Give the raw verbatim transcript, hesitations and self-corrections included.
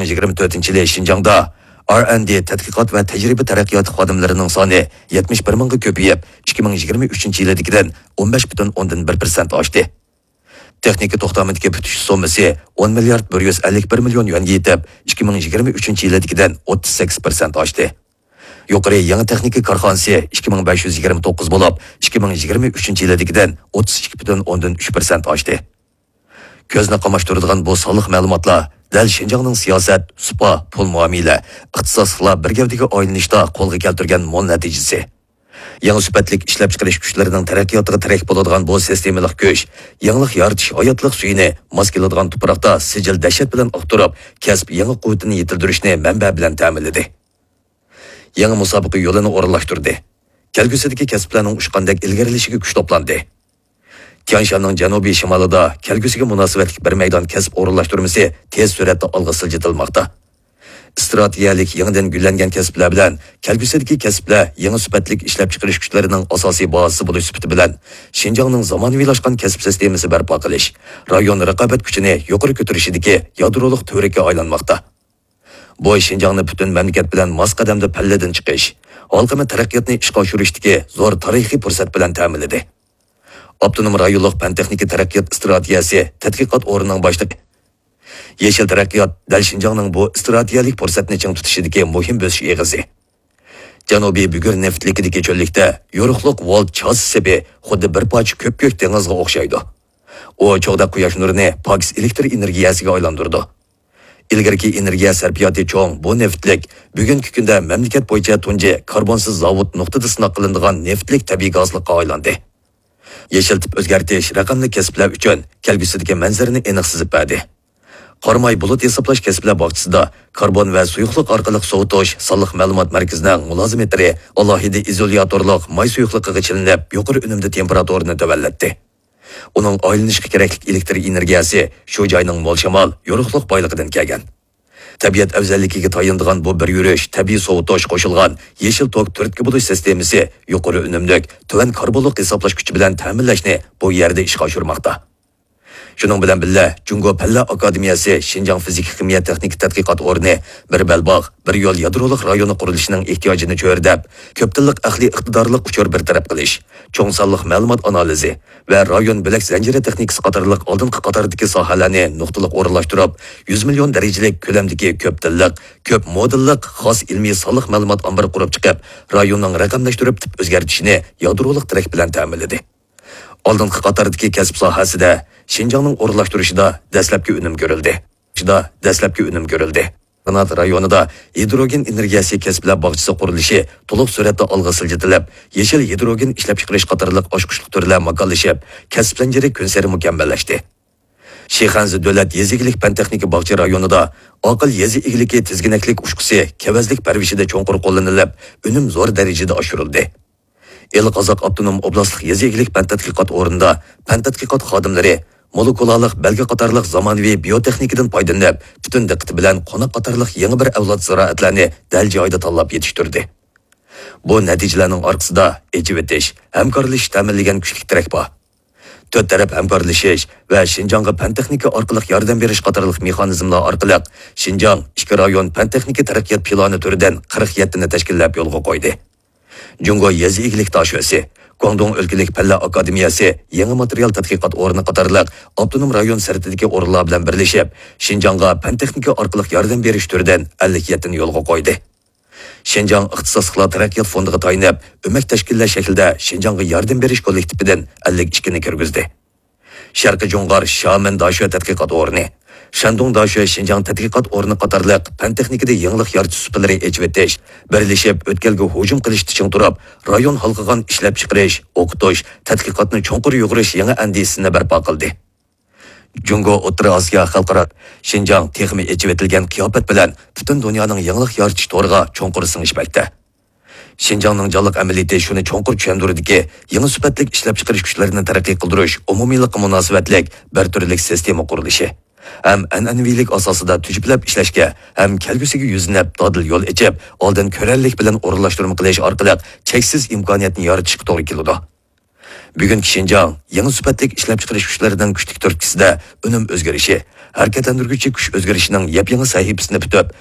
يىگىرمە تۆتىنچى يىلى شىنجاڭدا ئار ئەند دى تەتقىقات ۋە تەجرىبە تەرەققىياتى خادىملىرىنىڭ سانى يەتمىش بىر مىڭغا كۆپىيىپ، ئىككى مىڭ يىگىرمە ئۈچىنچى يىلىدىكىدىن ئون بەش پۈتۈن ئوندىن بىر پىرسەنت ئاشتى. تېخنىكا توختامىدىكى پۈتۈش سوممىسى ئون مىليارد بىر يۈز ئەللىك بىر مىليون يۈەنگە يېتىپ، ئىككى مىڭ يىگىرمە ئۈچىنچى يىلىدىكىدىن ئوتتۇز سەككىز پىرسەنت ئاشتى. يۇقىرى يېڭى تېخنىكا كارخانىسى ئىككى مىڭ بەش يۈز يىگىرمە توققۇز بولۇپ، ئىككى مىڭ يىگىرمە ئۈچىنچى يىلىدىكىدىن ئوتتۇز ئىككى پۈتۈن ئوندىن ئۈچ پىرسەنت ئاشتى. كۆزنى قاماشتۇرىدىغان بۇ سانلىق مەلۇماتلار دەل شىنجاڭنىڭ سىياسەت، سۇپا، پۇل مۇئامىلە، ئىختىساسلىقلار بىر گەۋدىگە ئايلىنىشتا قولغا كەلتۈرگەن مول نەتىجىسى. يېڭى سۈپەتلىك ئىشلەپچىقىرىش كۈچلىرىنىڭ تەرەققىياتىغا تىرەك بولىدىغان بۇ سىستېمىلىق كۈچ، يېڭىلىق يارىتىش ھاياتلىق سۈيىنى ماس كېلىدىغان تۇپراقتا سىجىل دەھشەت بىلەن ئاقتۇرۇپ، كەسىپ يېڭى قۇۋۋىتىنى يېتىلدۈرۈشنى مەنبە بىلەن تەمىنلىدى. يېڭى مۇسابىقە يولىنى ئورۇنلاشتۇردى. كەلگۈسىدىكى كەسىپلەرنىڭ ئۇچقاندەك ئىلگىرىلىشىگە كۈچ توپلاندى. تيەنشاننىڭ جەنۇبىي شىمالىدا كەلگۈسىگە مۇناسىۋەتلىك بىر مەيدان كەسىپ ئورۇنلاشتۇرمىسى تېز سۈرئەتتە ئالغا سىلجىتىلماقتا. ئىستراتېگىيەلىك يېڭىدىن گۈللەنگەن كەسىپلەر بىلەن كەلگۈسىدىكى كەسىپلەر يېڭى سۈپەتلىك ئىشلەپچىقىرىش كۈچلىرىنىڭ ئاساسىي بازىسى بولۇش سۈپىتى بىلەن شىنجاڭنىڭ زامانىۋىلاشقان كەسىپ سىستېمىسى بەرپا قىلىش، رايون رىقابەت كۈچىنى يۇقىرى كۆتۈرۈشىدىكى يادرولۇق تۈۋرۈككە ئايلانماقتا. بۇ شىنجاڭنى پۈتۈن مەملىكەت بىلەن ماس قەدەمدە پەللىدىن چىقىش، ھالقىما تەرەققىياتنى ئىشقا ئاشۇرۇشتىكى زور تارىخىي پۇرسەت بىلەن تەمىنلىدى. ئاپتونوم رايونلۇق پەن-تېخنىكا تەرەققىيات ئىستراتېگىيەسى تەتقىقات ئورنىنىڭ باشلىقى، يېشىل تەرەققىيات دەل شىنجاڭنىڭ بۇ ئىستراتېگىيەلىك پۇرسەتنى چىڭ تۇتۇشىدىكى مۇھىم بۆسۈش ئېغىزى. جەنۇبىي بۈگۈر نېفىتلىكىدىكى چۆللۈكتە يورۇقلۇق ۋولت چاسا سېپى خۇددى بىر پارچە كۆپكۆك دېڭىزغا ئوخشايدۇ. ئۇ چوغدا قۇياش نۇرىنى پاكىز ئېلېكتر ئېنېرگىيەسىگە ئايلاندۇرىدۇ. ئىلگىرىكى ئېنېرگىيە سەرپىياتى چوڭ بۇ نېفىتلىك بۈگۈنكى كۈندە مەملىكەت بويىچە تۇنجى كاربونسىز زاۋۇت نۇقتىدا سىناق قىلىنىدىغان نېفىتلىك تەبىئىي گازلىققا ئايلاندى. يېشىل تىپ ئۆزگەرتىش رەقەملىك كەسىپلەر ئۈچۈن كەلگۈسىدىكى مەنزىرىنى ئېنىق سىزىپ بەردى. قاراماي بۇلۇت ھېسابلاش كەسىپلەر باغچىسىدا كاربون ۋە سۇيۇقلۇق ئارقىلىق سوۋۇتۇش سانلىق مەلۇمات مەركىزىنىڭ مۇلازىمېتىرى ئالاھىدە ئىزولياتورلۇق ماي سۇيۇقلۇقىغا چىلىنىپ، يۇقىرى ئۈنۈمدە تېمپېراتۇرىنى تۆۋەنلەتتى. ئۇنىڭ ئايلىنىشقا كېرەكلىك ئېلېكتر ئېنېرگىيەسى شۇ جاينىڭ مول شامال، يورۇقلۇق بايلىقىدىن كەلگەن. تەبىئەت ئەۋزەللىكىگە تايىنىدىغان بۇ بىر يۈرۈش تەبىئىي سوۋۇتۇش قوشۇلغان يېشىل توك تۈرتكە بولۇش سىستېمىسى يۇقىرى ئۈنۈملۈك، تۆۋەن كاربونلۇق ھېسابلاش كۈچى بىلەن تەمىنلەشنى بۇ يەردە ئىشقا ئاشۇرماقتا. شۇنىڭ بىلەن بىللە، جۇڭگو پەنلەر ئاكادېمىيەسى شىنجاڭ فىزىكا خىمىيە تېخنىكا تەتقىقات ئورنى بىر بەلباغ، بىر يول يادرولۇق رايونى قۇرۇلۇشىنىڭ ئېھتىياجىنى چۆرىدەپ، كۆپ تىللىق ئەقلىي ئىقتىدارلىق ئۇچۇر بىر تەرەپ قىلىش، چوڭ سانلىق مەلۇمات ئانالىزى ۋە رايون بۆلەك زەنجىرى تېخنىكىسى قاتارلىق ئالدىنقى قاتاردىكى ساھەلەرنى نۇقتىلىق ئورۇنلاشتۇرۇپ، يۈز مىليون دەرىجىلىك كۆلەمدىكى كۆپ تىللىق، كۆپ مودېللىق خاس ئىلمىي سانلىق مەلۇمات ئامبىرى قۇرۇپ چىقىپ، رايوننىڭ رەقەملەشتۈرۈپ تىپ ئۆزگەرتىشىنى يادرولۇق تىرەك بىلەن تەمىنلىدى. ئالدىنقى قاتاردىكى كەسىپ ساھەسىدە شىنجاڭنىڭ ئورۇنلاشتۇرۇشىدا دەسلەپكى ئۈنۈم كۆرۈلدى. شىدا دەسلەپكى ئۈنۈم كۆرۈلدى. قانات رايونىدا ھىدروگېن ئېنېرگىيەسى كەسىپلەر باغچىسى قۇرۇلۇشى تولۇق سۈرئەتتە ئالغا سىلجىتىلىپ، يېشىل ھىدروگېن ئىشلەپچىقىرىش قاتارلىق ئاچقۇچلۇق تۈرلەر ماكانلىشىپ، كەسىپ زەنجىرى كۈنسېرى مۇكەممەللەشتى. شىخەنزە دۆلەت يېزا ئىگىلىك پەن-تېخنىكا باغچە رايونىدا ئاقىل يېزا ئىگىلىكى تىزگىنەكلىك ئۇچقۇسى كېۋەزلىك پەرۋىشىدە چوڭقۇر قوللىنىلىپ، ئۈنۈم زور دەرىجىدە ئاشۇرۇلدى. ئىلى قازاق ئاپتونوم ئوبلاستلىق يېزا ئىگىلىك پەن تەتقىقات ئورنىدا پەن تەتقىقات خادىملىرى مولېكۇلالىق بەلگە قاتارلىق زامانىۋى بىيوتېخنىكىدىن پايدىلىنىپ، پۈتۈن دىققىتى بىلەن قوناق قاتارلىق يېڭى بىر ئەۋلاد زىرائەتلەرنى دەل جايىدا تاللاپ يېتىشتۈردى. بۇ نەتىجىلەرنىڭ ئارقىسىدا ئېچىۋېتىش، ھەمكارلىشىش تەمىنلىگەن كۈچلۈك تىرەك بار. تۆت تەرەپ ھەمكارلىشىش ۋە شىنجاڭغا پەن-تېخنىكا ئارقىلىق ياردەم بېرىش قاتارلىق مېخانىزملار ئارقىلىق شىنجاڭ ئىككى رايون پەن-تېخنىكا تەرەققىيات پىلانى تۈرىدىن قىرىق يەتتىنى تەشكىللەپ يولغا قويدى. جۇڭگو يېزا ئىگىلىك داشۆسى، گۇاڭدۇڭ ئۆلكىلىك پەنلەر ئاكادېمىيەسى يېڭى ماتېرىيال تەتقىقات ئورنى قاتارلىق ئاپتونوم رايون سىرتىدىكى ئورۇنلار بىلەن بىرلىشىپ، شىنجاڭغا پەن-تېخنىكا ئارقىلىق ياردەم بېرىش تۈرىدىن ئەللىك يەتتىنى يولغا قويدى. شىنجاڭ ئىختىساسلىقلار تەرەققىيات فوندىغا تايىنىپ، ئۆمەك تەشكىللەش شەكلىدە شىنجاڭغا ياردەم بېرىش كوللېكتىپىدىن ئەللىك ئىككىنى كىرگۈزدى. شەرقىي جۇڭغار شيامېن داشۆ تەتقىقات ئورنى، شەندۇڭ داشۆ شىنجاڭ تەتقىقات ئورنى قاتارلىق پەن-تېخنىكىدا يېڭىلىق يارىتىش سۇپىلىرى ئېچىۋېتىش، بىرلىشىپ ئۆتكەلگە ھۇجۇم قىلىشتا چىڭ تۇرۇپ، رايون ھالقىغان ئىشلەپچىقىرىش، ئوقۇتۇش، تەتقىقاتنى چوڭقۇر يۇغۇرۇش يېڭى ئەندىزىسىنى بەرپا قىلدى. جۇڭگو ئوتتۇرا ئاسىيا خەلقئارا شىنجاڭ تېخىمۇ ئېچىۋېتىلگەن قىياپەت بىلەن پۈتۈن دۇنيانىڭ يېڭىلىق يارىتىش تورىغا چوڭقۇر سىڭىشمەكتە. شىنجاڭنىڭ جانلىق ئەمەلىيىتى شۇنى چوڭقۇر چۈشەندۈرىدۇكى، يېڭى سۈپەتلىك ئىشلەپچىقىرىش كۈچلىرىنى تەرەققىي قىلدۇرۇش ئومۇمىيلىققا مۇناسىۋەتلىك بىر تۈرلۈك سىستېما قۇرۇلۇشى ھەم ئەنئەنىۋىلىك ئاساسىدا تۈجۈپلەپ ئىشلەشكە ھەم كەلگۈسىگە يۈزلىنىپ دادىل يول ئېچىپ، ئالدىن كۆرەرلىك بىلەن ئورۇنلاشتۇرما قىلىش ئارقىلىق چەكسىز ئىمكانىيەتنى يارىتىشقا توغرا كېلىدۇ. بۈگۈنكى شىنجاڭ يېڭى سۈپەتلىك ئىشلەپچىقىرىش كۈچلىرىنىڭ كۈچلۈك تۈرتكىسىدە ئۈنۈم ئۆزگىرىشى، ھەرىكەتلەندۈرگۈچى كۈچ ئۆزگىرىشنىڭ يەپيېڭى سەھىپىسىنى پۈتۈپ،